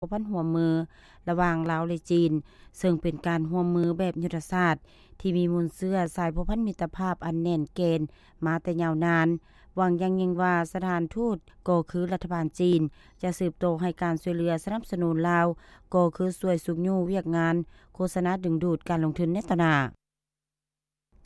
ພົວພັນຮ່ວມມືລະຫວ່າງລາວ ແລະ ຈີນ, ເຊິ່ງເປັນການຮ່ວມມືແບບຍຸດທະສາດທີ່ມີມູນເຊື້ອສາຍພົວພັນມິດຕະພາບອັນແໜ້ນແກ່ນມາແຕ່ຍາວນານ. ຫວັງຢ່າງຍິ່ງວ່າສະຖານທູດກໍຄືລັດຖະບານຈີນຈະສືບຕໍ່ໃຫ້ການຊ່ວຍເຫຼືອສະໜັບສະໜູນລາວ ກໍຄືຊ່ວຍຊຸກຍູ້ວຽກງານໂຄສະນາດຶງດູດການລົງທຶນໃນຕໍ່ໜ້າ.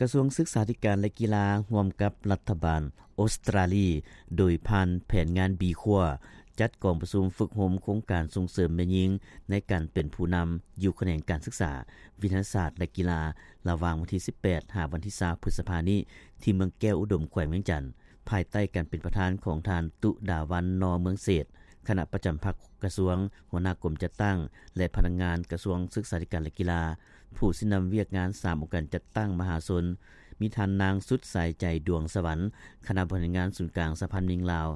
ກະຊວງສຶກສາທິການ ແລະ ກິລາ ຮ່ວມກັບລັດຖະບານອົດສະຕຣາລີ ໂດຍຜ່ານແຜນງານ B Core ຈັດກອງປະຊຸມຝຶກຮົມໂຄງການສົ່ງເສີມແມ່ຍິງໃນການເປັນຜູ້ນຳ ຢູ່ຂະແໜງການສຶກສາ, ວິທະຍາສາດ ແລະ ກິລາ ລະຫວ່າງວັນທີສິບແປດ ຫາວັນທີຊາວ ພຶດສະພານີ້ ທີ່ເມືອງແກ້ວອຸດົມ ແຂວງວຽງຈັນ. ພາຍໃຕ້ການເປັນປະທານຂອງທ່ານ ຕຸດາວັນ ນອເມືອງເສດ, ຄະນະປະຈຳພັກກະຊວງ, ຫົວໜ້າກົມຈັດຕັ້ງ ແລະ ພະນັກງານກະຊວງສຶກສາທິການ ແລະ ກິລາ, ຜູ້ຊີ້ນຳວຽກງານສາມອົງການຈັດຕັ້ງມະຫາຊົນ, ມີທ່ານນາງ ສຸດສາຍໃຈ ດວງສະຫວັນ, ຄະນະບໍລິຫານງານສູນກາງສະຫະພັນແມ່ຍິງລາວ,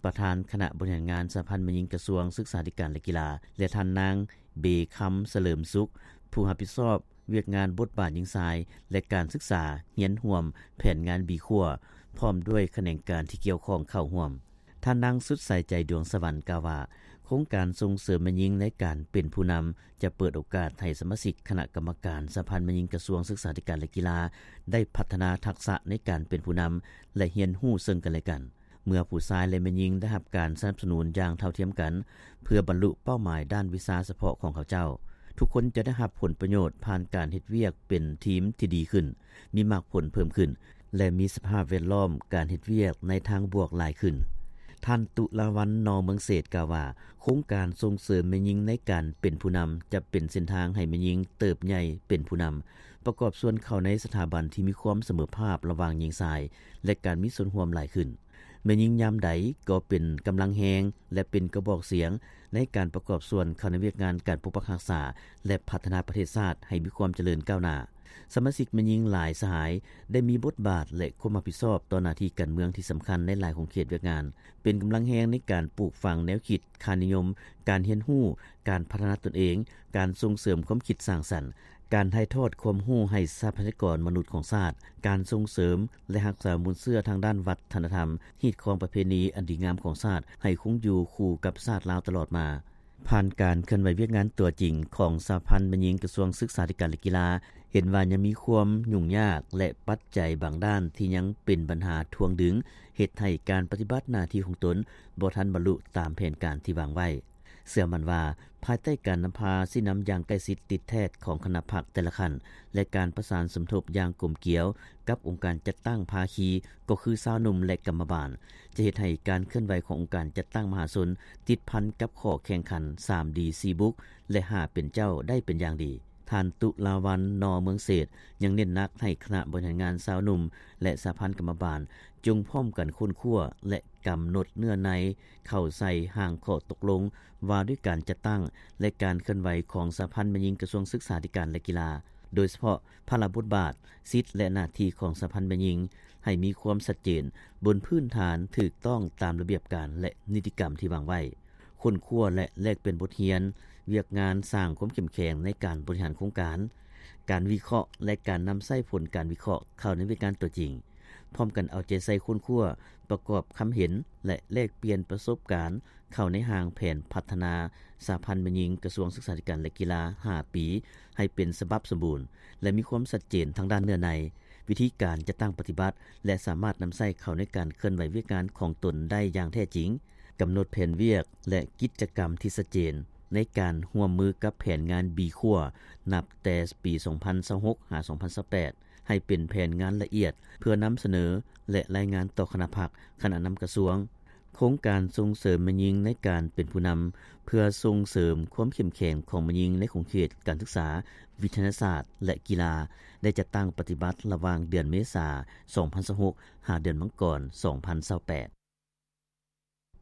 ປະທານຄະນະບໍລິຫານງານສະຫະພັນແມ່ຍິງກະຊວງສຶກສາທິການ ແລະ ກິລາ ແລະ ທ່ານນາງ ເບຄຳ ສະເຫຼີມສຸກ, ຜູ້ຮັບຜິດຊອບ ວຽກງານບົດບາດຍິງຊາຍ ແລະ ການສຶກສາ, ຮຽນຮ່ວມ, ແຜນງານ B Core ພ້ອມດ້ວຍຂະແໜງການທີ່ກ່ຽວຂ້ອງເຂົ້າຮ່ວມ. ທ່ານນາງ ສຸດສາຍໃຈ ດວງສະຫວັນ ກ່າວວ່າ ໂຄງການສົ່ງເສີມແມ່ຍິງໃນການເປັນຜູ້ນຳ ຈະເປີດໂອກາດໃຫ້ສະມາຊິກຄະນະກຳມະການສະຫະພັນແມ່ຍິງກະຊວງສຶກສາທິການ ແລະ ກິລາ ໄດ້ພັດທະນາທັກສະໃນການເປັນຜູ້ນຳ ແລະ ຮຽນຮູ້ເຊິ່ງກັນ ແລະ ກັນ. ເມື່ອຜູ້ຊາຍ ແລະ ແມ່ຍິງໄດ້ຮັບການສະໜັບສະໜູນຢ່າງເທົ່າທຽມກັນ ເພື່ອບັນລຸເປົ້າໝາຍດ້ານວິຊາສະເພາະຂອງເຂົາເຈົ້າ, ທຸກຄົນຈະໄດ້ຮັບຜົນປະໂຫຍດຜ່ານການເຮັດວຽກເປັນທີມທີ່ດີຂຶ້ນ, ມີໝາກຜົນເພີ່ມຂຶ້ນ ແລະ ມີສະພາບແວດລ້ອມການເຮັດວຽກໃນທາງບວກຫຼາຍຂຶ້ນ. ທ່ານ ຕຸລາວັນ ນອເມືອງເສດ ກ່າວວ່າ ໂຄງການສົ່ງເສີມແມ່ຍິງໃນການເປັນຜູ້ນຳ ຈະເປັນເສັ້ນທາງໃຫ້ແມ່ຍິງເຕີບໃຫຍ່ເປັນຜູ້ນຳ, ປະກອບສ່ວນເຂົ້າໃນສະຖາບັນທີ່ມີຄວາມສະເໝີພາບລະຫວ່າງຍິງຊາຍ ແລະ ການມີສ່ວນຮ່ວມຫຼາຍຂຶ້ນ. ແມ່ຍິງຍາມໃດກໍເປັນກຳລັງແຮງ ແລະ ເປັນກະບອກສຽງໃນການປະກອບສ່ວນເຂົ້າໃນວຽກງານການປົກປັກຮັກສາ ແລະ ພັດທະນາປະເທດຊາດໃຫ້ມີຄວາມຈະເລີນກ້າວໜ້າ. ສະມາຊິກແມ່ຍິງຫຼາຍສະຫາຍໄດ້ມີບົດບາດ ແລະ ຄວາມຮັບຜິດຊອບຕໍ່ໜ້າທີ່ການເມືອງທີ່ສຳຄັນໃນຫຼາຍຂົງເຂດວຽກງານ, ເປັນກຳລັງແຮງໃນການປູກຝັງແນວຄິດ, ຄ່ານິຍົມ, ການຮຽນຮູ້, ການພັດທະນາຕົນເອງ, ການສົ່ງເສີມຄວາມຄິດສ້າງສັນ, ການຖ່າຍທອດຄວາມຮູ້ໃຫ້ຊັບພະຍາກອນມະນຸດຂອງຊາດ, ການສົ່ງເສີມ ແລະ ຮັກສາມູນເຊື້ອທາງດ້ານວັດທະນະທຳ, ຮີດຄອງປະເພນີອັນດີງາມຂອງຊາດ ໃຫ້ຄົງຢູ່ຄູ່ກັບຊາດລາວຕະຫຼອດມາ. ຜ່ານການເຄື່ອນໄຫວວຽກງານຕົວຈິງຂອງສະຫະພັນແມ່ຍິງກະຊວງສຶກສາທິການ ແລະ ກິລາ ເຫັນວ່າຍັງມີຄວາມຫຍຸ້ງຍາກ ແລະ ປັດໄຈບາງດ້ານທີ່ຍັງເປັນບັນຫາຖ່ວງດຶງ ເຮັດໃຫ້ການປະຕິບັດໜ້າທີ່ຂອງຕົນບໍ່ທັນບັນລຸຕາມແຜນການທີ່ວາງໄວ້. ເຊື່ອໝັ້ນວ່າ ພາຍໃຕ້ການນຳພາຊີ້ນຳຢ່າງໃກ້ຊິດຕິດແທດຂອງຄະນະພັກແຕ່ລະຂັ້ນ ແລະ ການປະສານສົມທົບຢ່າງກົມກຽວກັບອົງການຈັດຕັ້ງພາຄີ ກໍຄືຊາວໜຸ່ມ ແລະ ກຳມະບານ ຈະເຮັດໃຫ້ການເຄື່ອນໄຫວຂອງອົງການຈັດຕັ້ງມະຫາຊົນຕິດພັນກັບຂໍ້ແຂ່ງຂັນ ສາມດີ ສີ່ບຸກ ແລະ ຫ້າເປັນເຈົ້າ ໄດ້ເປັນຢ່າງດີ. ທ່ານ ຕຸລາວັນ ນອເມືອງເສດ ຍັງເນັ້ນໜັກໃຫ້ຄະນະບໍລິຫານງານຊາວໜຸ່ມ ແລະ ສະຫະພັນກຳມະບານ ຈົ່ງພ້ອມກັນຄົ້ນຄວ້າ ແລະ ກຳນົດເນື້ອໃນເຂົ້າໃສ່ຮ່າງຂໍ້ຕົກລົງວ່າດ້ວຍການຈັດຕັ້ງ ແລະ ການເຄື່ອນໄຫວຂອງສະຫະພັນແມ່ຍິງກະຊວງສຶກສາທິການ ແລະ ກິລາ, ໂດຍສະເພາະພາລະບົດບາດ, ສິດ ແລະ ໜ້າທີ່ຂອງສະຫະພັນແມ່ຍິງ ໃຫ້ມີຄວາມຊັດເຈນ ບົນພື້ນຖານຖືກຕ້ອງຕາມລະບຽບການ ແລະ ນິຕິກຳທີ່ວາງໄວ້. ຄົ້ນຄວ້າ ແລະ ແລກປ່ຽນບົດຮຽນ, ວຽກງານສ້າງຄວາມເຂັ້ມແຂງໃນການບໍລິຫານໂຄງການ, ການວິເຄາະ ແລະ ການນຳໃຊ້ຜົນການວິເຄາະເຂົ້າໃນວຽກງານຕົວຈິງ, ພ້ອມກັນເອົາໃຈໃສ່ຄົ້ນຄວ້າ, ປະກອບຄຳເຫັນ ແລະ ແລກປ່ຽນປະສົບການເຂົ້າໃນຮ່າງແຜນພັດທະນາສະຫະພັນແມ່ຍິງກະຊວງສຶກສາທິການ ແລະ ກິລາ ຫ້າປີ ໃຫ້ເປັນສະບັບສົມບູນ ແລະ ມີຄວາມຊັດເຈນທາງດ້ານເນື້ອໃນ, ວິທີການຈັດຕັ້ງປະຕິບັດ ແລະ ສາມາດນຳໃຊ້ເຂົ້າໃນການເຄື່ອນໄຫວວຽກງານຂອງຕົນໄດ້ຢ່າງແທ້ຈິງ, ກຳນົດແຜນວຽກ ແລະ ກິດຈະກຳທີ່ຊັດເຈນໃນການຮ່ວມມືກັບແຜນງານ B Core ນັບແຕ່ປີສອງພັນຊາວຫົກ ຫາ ສອງພັນຊາວແປດ ໃຫ້ເປັນແຜນງານລະອຽດ ເພື່ອນຳສະເໜີ ແລະ ລາຍງານຕໍ່ຄະນະພັກ, ຄະນະນຳກະຊວງ. ໂຄງການສົ່ງເສີມແມ່ຍິງໃນການເປັນຜູ້ນຳ ເພື່ອສົ່ງເສີມຄວາມເຂັ້ມແຂງຂອງແມ່ຍິງໃນຂົງເຂດການສຶກສາ, ວິທະຍາສາດ ແລະ ກິລາ ໄດ້ຈັດຕັ້ງປະຕິບັດລະຫວ່າງເດືອນເມສາ ສອງພັນຊາວຫົກ ຫາເດືອນມັງກອນ ສອງພັນຊາວແປດ.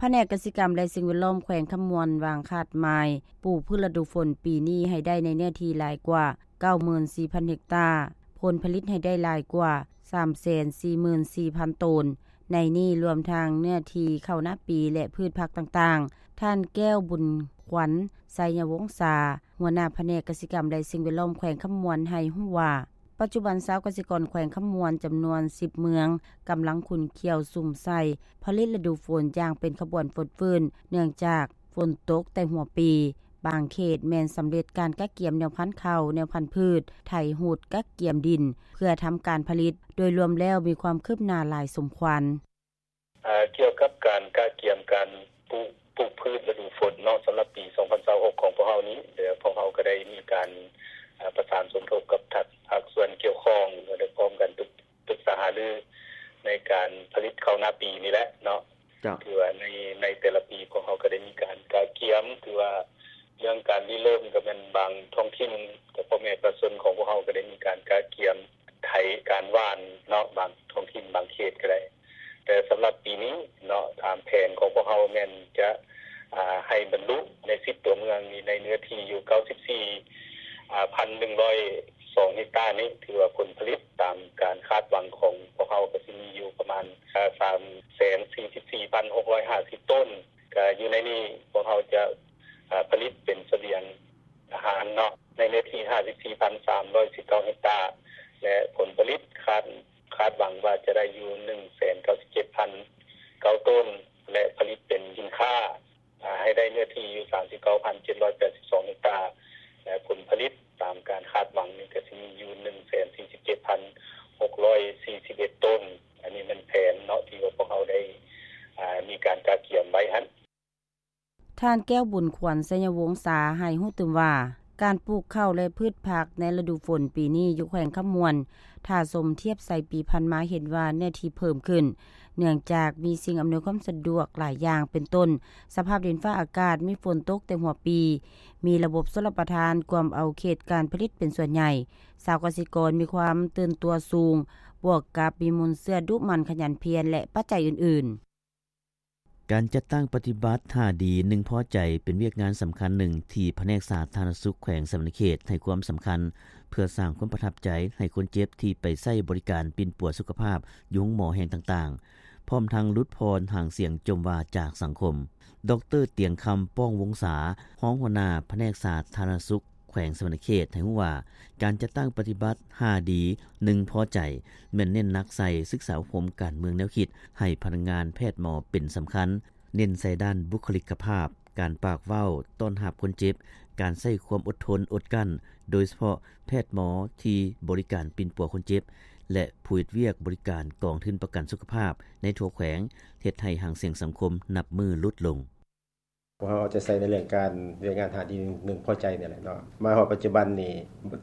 ພະແນກກະສິກຳ ແລະ ສິ່ງແວດລ້ອມແຂວງຄຳມ່ວນ ວາງຄາດໝາຍປູກພືດລະດູຝົນປີນີ້ໃຫ້ໄດ້ໃນເນື້ອທີ່ຫຼາຍກວ່າເກົ້າໝື່ນສີ່ພັນເຮັກຕາ, ຜົນຜະລິດໃຫ້ໄດ້ຫຼາຍກວ່າສາມແສນສີ່ໝື່ນສີ່ພັນໂຕນ, ໃນນີ້ລວມທັງເນື້ອທີ່ເຂົ້ານາປີ ແລະ ພືດຜັກຕ່າງໆ. ທ່ານ ແກ້ວບຸນຂວັນ ໄຊຍະວົງສາ, ຫົວໜ້າພະແນກກະສິກຳ ແລະ ສິ່ງແວດລ້ອມແຂວງຄຳມ່ວນ ໃຫ້ຮູ້ວ່າ, ປັດຈຸບັນຊາວກະສິກອນແຂວງຄຳມ່ວນຈຳນວນສິບເມືອງ ກຳລັງຂຸ້ນຂ້ຽວສຸມໃສ່ຜະລິດລະດູຝົນຢ່າງເປັນຂະບວນຟົດຟື້ນ ເນື່ອງຈາກຝົນຕົກແຕ່ຫົວປີ ບາງເຂດແມ່ນສຳເລັດການກະກຽມແນວພັນເຂົ້າ, ແນວພັນພືດ, ໄຖຮູດກະກຽມດິນ ເພື່ອທຳການຜະລິດ, ໂດຍລວມແລ້ວມີຄວາມຄືບໜ້າຫຼາຍສົມຄວນ. ເອີ່ ກ່ຽວກັບການກະກຽມການປູກ ປູກພືດລະດູຝົນເນາະ ສຳລັບປີສອງພັນຊາວຫົກຂອງພວກເຮົານີ້ ແລະ ພວກເຮົາກໍໄດ້ມີການ ເອີ່ ປະສານສົມທົບກັບພາກ ພາກສ່ວນກ່ຽວຂ້ອງ ແລະ ໄດ້ພ້ອມກັນປຶກ ປຶກສາຫາລືໃນການຜະລິດເຂົ້ານາປີນີ້ແຫຼະເນາະ. ເຈົ້າ. ຖືວ່າໃນ ໃນແຕ່ລະປີພວກເຮົາກໍໄດ້ມີການກະກຽມ ຖືວ່າເລື່ອງການລິເລີ່ມກໍແມ່ນບາງທ້ອງຖິ່ນ ກັບພໍ່ແມ່ປະຊາຊົນຂອງພວກເຮົາກໍໄດ້ມີການກະກຽມໄຖການຫວ່ານເນາະ ບາງທ້ອງຖິ່ນບາງເຂດກໍໄດ້. ແຕ່ສຳລັບປີນີ້ເນາະ ຕາມແຜນຂອງພວກເຮົາແມ່ນຈະ ອາ ໃຫ້ບັນລຸໃນສິບຕົວເມືອງນີ້ ໃນເນື້ອທີ່ຢູ່ເກົ້າສິບສີ່ ອາ ພັນໜຶ່ງຮ້ອຍສອງເຮັກຕານີ້ ຖືວ່າຜົນຜະລິດຕາມການຄາດຫວັງຂອງພວກເຮົາກໍຊິມີຢູ່ປະມານ ອາ ສາມແສນສີ່ສິບສີ່ພັນຫົກຮ້ອຍຫ້າສິບໂຕນ. ກະຢູ່ໃນນີ້ພວກເຮົາຈະ ອາ ຜະລິດເປັນສະບຽງອາຫານເນາະ ໃນເນື້ອທີ່ຫ້າສິບສີ່ພັນສາມຮ້ອຍສິບເກົ້າເຮັກຕາ ແລະ ຜົນຜະລິດຄາດ ຄາດຫວັງວ່າຈະໄດ້ຢູ່ໜຶ່ງແສນເກົ້າສິບເຈັດພັນເກົ້າໂຕນ ແລະ ຜະລິດເປັນສິນຄ້າ ອາ ໃຫ້ໄດ້ເນື້ອທີ່ຢູ່ສາມສິບເກົ້າພັນເຈັດຮ້ອຍແປດສິບສອງເຮັກຕາ ແລະ ຜົນຜະລິດຕາມການຄາດຫວັງນີ້ກໍຊິມີຢູ່ໜຶ່ງແສນສີ່ສິບເຈັດພັນຫົກຮ້ອຍສີ່ສິບເອັດໂຕນ. ອັນນີ້ແມ່ນແຜນເນາະ ທີ່ວ່າພວກເຮົາໄດ້ ອາ ມີການກະກຽມໄວ້ຫັ້ນ. ທ່ານ ແກ້ວບຸນຂວັນ ໄຊຍະວົງສາ ໃຫ້ຮູ້ຕື່ມວ່າ ການປູກເຂົ້າ ແລະ ພືດຜັກໃນລະດູຝົນປີນີ້ຢູ່ແຂວງຄຳມ່ວນ ຖ້າຊົມທຽບໃສ່ປີຜ່ານມາເຫັນວ່າເນື້ອທີ່ເພີ່ມຂຶ້ນ ເນື່ອງຈາກມີສິ່ງອຳນວຍຄວາມສະດວກຫຼາຍຢ່າງ ເປັນຕົ້ນ ສະພາບດິນຟ້າອາກາດ ມີຝົນຕົກແຕ່ຫົວປີ, ມີລະບົບຊົນລະປະທານກວມເອົາເຂດການຜະລິດເປັນສ່ວນໃຫຍ່, ຊາວກະສິກອນມີຄວາມຕື່ນຕົວສູງ, ບວກກັບມີມູນເຊື້ອດຸໝັ່ນຂະຫຍັນພຽນ ແລະ ປັດໄຈອື່ນໆ. ການຈັດຕັ້ງປະຕິບັດຫ້າດີໜຶ່ງພໍໃຈ ເປັນວຽກງານສຳຄັນໜຶ່ງທີ່ພະແນກສາທາລະນະສຸກແຂວງສະຫວັນນະເຂດໃຫ້ຄວາມສຳຄັນ ເພື່ອສ້າງຄວາມປະທັບໃຈໃຫ້ຄົນເຈັບທີ່ໄປໃຊ້ບໍລິການປິ່ນປົວສຸຂະພາບຢູ່ໂຮງໝໍແຫ່ງຕ່າງໆ, ພ້ອມທັງຫຼຸດຜ່ອນຫາງສຽງຈົ່ມວ່າຈາກສັງຄົມ. ດອກເຕີ ຕຽງຄຳ ປ້ອງວົງສາ ຮອງຫົວໜ້າພະແນກສາທາລະນະສຸກ ແຂວງສະຫວັນນະເຂດໃຫ້ຮູ້ວ່າ ການຈັດຕັ້ງປະຕິບັດຫ້າດີໜຶ່ງພໍໃຈ ແມ່ນເນັ້ນໜັກໃສ່ສຶກສາອົບຮົມການເມືອງແນວຄິດໃຫ້ພະນັກງານແພດໝໍເປັນສຳຄັນ, ເນັ້ນໃສ່ດ້ານບຸກຄະລິກກະພາບ, ການປາກເວົ້າຕ້ອນຮັບຄົນເຈັບ, ການໃຊ້ຄວາມອົດທົນອົດກັ້ນ, ໂດຍສະເພາະແພດໝໍທີ່ບໍລິການປິ່ນປົວຄົນເຈັບ ແລະ ຜູ້ເຮັດວຽກບໍລິການກອງທຶນປະກັນສຸຂະພາບໃນທົ່ວແຂວງ ເຮັດໃຫ້ຫາງສຽງສັງຄົມນັບມື້ຫຼຸດລົງ. ພວກເຮົາເອົາໃຈໃສ່ໃນເລື່ອງການວຽກງານຫ້າດີໜຶ່ງພໍໃຈນີ້ແຫຼະເນາະ. ມາຮອດປັດຈຸບັນນີ້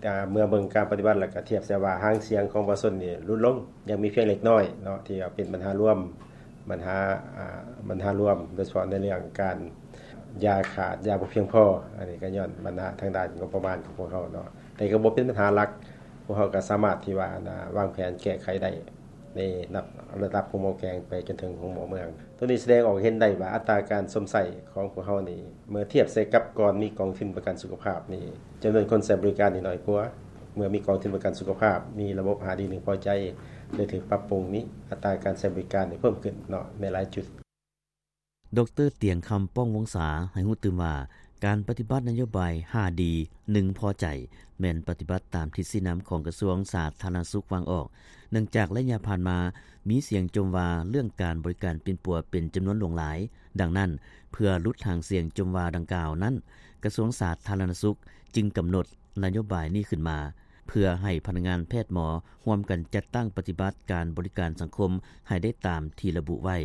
ອາ ເມື່ອເບິ່ງການປະຕິບັດ ແລ້ວກໍທຽບໃສ່ວ່າຫາງສຽງຂອງປະຊາຊົນນີ້ຫຼຸດລົງ ຍັງມີພຽງເລັກນ້ອຍເນາະ ທີ່ວ່າເປັນບັນຫາລວມ ບັນຫາ ອາ ບັນຫາລວມ ໂດຍສະເພາະໃນເລື່ອງການຢາຂາດ ຢາບໍ່ພຽງພໍ ອັນນີ້ກໍຍ້ອນບັນຫາທາງດ້ານງົບປະມານຂອງພວກເຮົາເນາະ ແຕ່ກໍບໍ່ເປັນບັນຫາຫຼັກ ພວກເຮົາກໍສາມາດທີ່ວ່າ ອັນ ອາ ວາງແຜນແກ້ໄຂໄດ້ ໃນລະດັບ ລະດັບໂຮງໝໍແຂວງໄປຈົນເຖິງໂຮງໝໍເມືອງ. ໂຕນີ້ສະແດງອອກເຫັນໄດ້ວ່າອັດຕາການຊົມໃຊ້ຂອງພວກເຮົານີ້ ເມື່ອທຽບໃສ່ກັບກ່ອນມີກອງທຶນປະກັນສຸຂະພາບນີ້ ຈຳນວນຄົນໃຊ້ບໍລິການນີ້ໜ້ອຍກວ່າ. ເມື່ອມີກອງທຶນປະກັນສຸຂະພາບ, ມີລະບົບຫ້າດີໜຶ່ງພໍໃຈ ໄດ້ຖືກປັບປຸງນີ້ ອັດຕາການໃຊ້ບໍລິການນີ້ເພີ່ມຂຶ້ນເນາະ ໃນຫຼາຍຈຸດ. ດອກເຕີ ຕຽງຄຳ ປ້ອງວົງສາ ໃຫ້ຮູ້ຕື່ມວ່າ ການປະຕິບັດນະໂຍບາຍຫ້າດີໜຶ່ງພໍໃຈ ແມ່ນປະຕິບັດຕາມທິດຊີ້ນຳຂອງກະຊວງສາທາລະນະສຸກວາງອອກ, ເນື່ອງຈາກໄລຍະຜ່ານມາ ມີສຽງຈົ່ມວ່າເລື່ອງການບໍລິການປິ່ນປົວເປັນຈຳນວນຫຼວງຫຼາຍ. ດັ່ງນັ້ນ, ເພື່ອຫຼຸດຫາງສຽງຈົ່ມວ່າດັ່ງກ່າວນັ້ນ, ກະຊວງສາທາລະນະສຸກຈຶ່ງກຳນົດນະໂຍບາຍນີ້ຂຶ້ນມາ ເພື່ອໃຫ້ພະນັກງານແພດໝໍຮ່ວມກັນຈັດຕັ້ງປະຕິບັດການບໍລິການສັງຄົມໃຫ້ໄດ້ຕາມທີ່ລະບຸໄວ້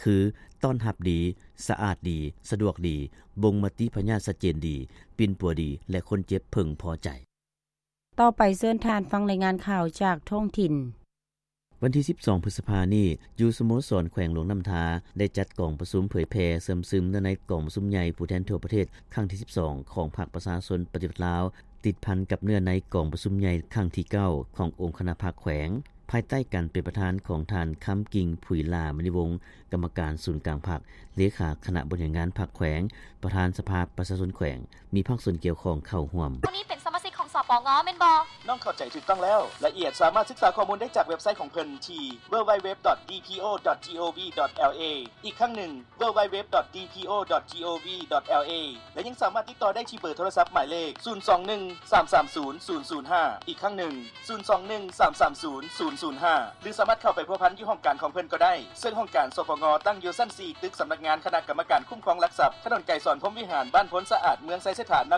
ຄື ຕ້ອນຮັບດີ, ສະອາດດີ, ສະດວກດີ, ບົ່ງມະຕິພະຍາດຊັດເຈນດີ, ປິ່ນປົວດີ ແລະ ຄົນເຈັບເພິ່ງພໍໃຈ. ຕໍ່ໄປເຊີນທ່ານຟັງລາຍງານຂ່າວຈາກທ້ອງຖິ່ນ. ວັນທີສິບສອງ ພຶດສະພານີ້, ຢູ່ສະໂມສອນແຂວງຫຼວງນ້ຳທາ ໄດ້ຈັດກອງປະຊຸມເຜີຍແຜ່ເຊື່ອມຊຶມເນື້ອໃນກອງປະຊຸມໃຫຍ່ຜູ້ແທນທົ່ວປະເທດຄັ້ງທີສິບສອງ ຂອງພັກປະຊາຊົນປະຕິວັດລາວ ຕິດພັນກັບເນື້ອໃນກອງປະຊຸມໃຫຍ່ຄັ້ງທີເກົ້າ ຂອງອົງຄະນະພັກແຂວງ ພາຍໃຕ້ການເປັນປະທານຂອງທ່ານ ຄຳກິ່ງ ຜຸຍຫຼ້າມະນີວົງ ກຳມະການສູນກາງພັກ, ເລຂາຄະນະບໍລິຫານງານພັກແຂວງ, ປະທານສະພາປະຊາຊົນແຂວງ, ມີພາກສ່ວນກ່ຽວຂ້ອງເຂົ້າຮ່ວມ. ຜູ້ນີ້ເປັນສະມາຊິກຂອງ ສປ ງໍແມ່ນບໍ່? ນ້ອງເຂົ້າໃຈຖືກຕ້ອງແລ້ວ. ລາຍລະອຽດສາມາດສຶກສາຂໍ້ມູນໄດ້ຈາກເວັບໄຊຂອງເພິ່ນທີ່ www.dpo.gov.la ອີກຄັ້ງໜຶ່ງ www.dpo.gov.la ແລະ ຍັງສາມາດຕິດຕໍ່ໄດ້ທີ່ເບີໂທລະສັບໝາຍເລກ ສູນສອງໜຶ່ງ ສາມສາມສູນ ສູນສູນຫ້າ ອີກຄັ້ງໜຶ່ງ ສູນສອງໜຶ່ງ ສາມສາມສູນ ສູນສູນຫ້າ ຫຼື ສາມາດເຂົ້າໄປພົວພັນຢູ່ຫ້ອງການຂອງເພິ່ນກໍໄດ້ ເຊິ່ງຫ້ອງການ ສພງ ຕັ້ງຢູ່ຊັ້ນສີ່ ຕຶກສຳນັກງານຄະນະກຳມະການຄຸ້ມຄອງຫຼັກຊັບ ຖະໜົນໄກສອນ ພົມວິຫານ ບ້ານໂພນສະອາດ ເມືອງໄຊເສດຖາ ນະ